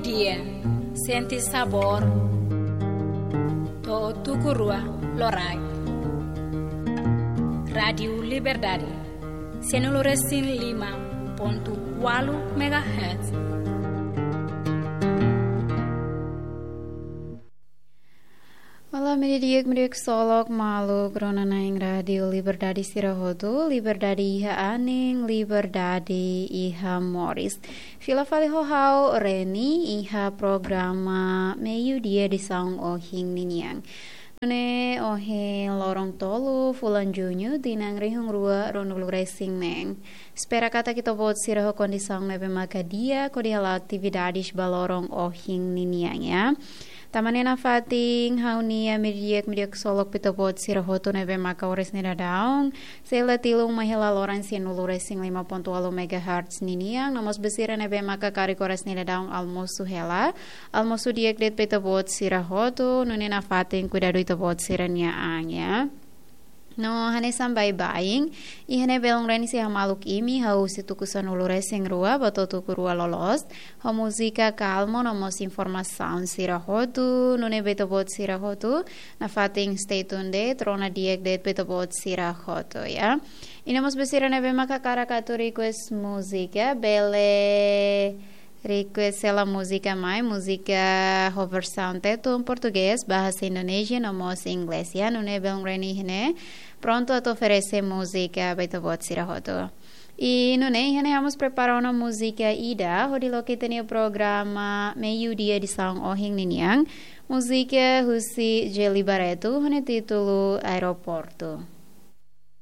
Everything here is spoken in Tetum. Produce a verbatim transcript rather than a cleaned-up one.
Iya, sente sabór. To'o tuku rua loraik. Rádiu Liberdade, sianulu resin lima pontu ualu megahertz. Olá, mediodía, mediodía solok, maluk rona-na'in Rádiu Liberdade sira hotu, liberdade iha anin, liberdade iha moris. Fila fali ho ha'u Reni iha programa Meiudia edisaun ohin ninian. Nune'e ohin loron tolu, fulan Juñu, tinan rihun rua ruanulu resin neen. Espera katak ita-boot sira ho kondisaun ne'ebé maka di'ak hodi hala'o atividades ba loron ohin ninian, ya. Tanba ne'e nafatin ha'u-nia mediodía, mediodía solok ba ita-boot sira hotu ne'ebé maka oras ne'e daudaun sei la tilun mai hela loron sianulu resin lima pontu ualu megahertz ninian, no mós ba sira ne'ebé maka karik oras ne'e daudaun almosu hela. Almosu di'ak de'it ba ita-boot sira hotu, nune'e nafatin kuidadu ita-boot sira-nia an, ya. No hanesan baibain, iha ne'e belun Reni sei hamaluk imi hahú husi tuku sanulu resin rua ba to'o tuku rua loloos, ho múzika kalmu no mós informasaun sira hotu, nune'e ba ita-boot sira hotu nafatin stay tuned de'it, rona di'ak de'it ba ita-boot sira hotu, ya. I no mós ba sira ne'ebé maka hakarak atu request múzika, bele request hela múzika mai, múzika ho versaun Tetun, Portugés, Bahasa Indonesia, no mós Inglés, ya. Nune'e belun Reni iha ne'e prontu atu oferese múzika ba ita-boot sira hotu. I nune'e iha ne'e ha'u mós prepara ona múzika ida hodi loke ita-nia programa Meiudia edisaun ohin ninian. Múzika husi Djely Barreto, ho nia títulu Aeroportu.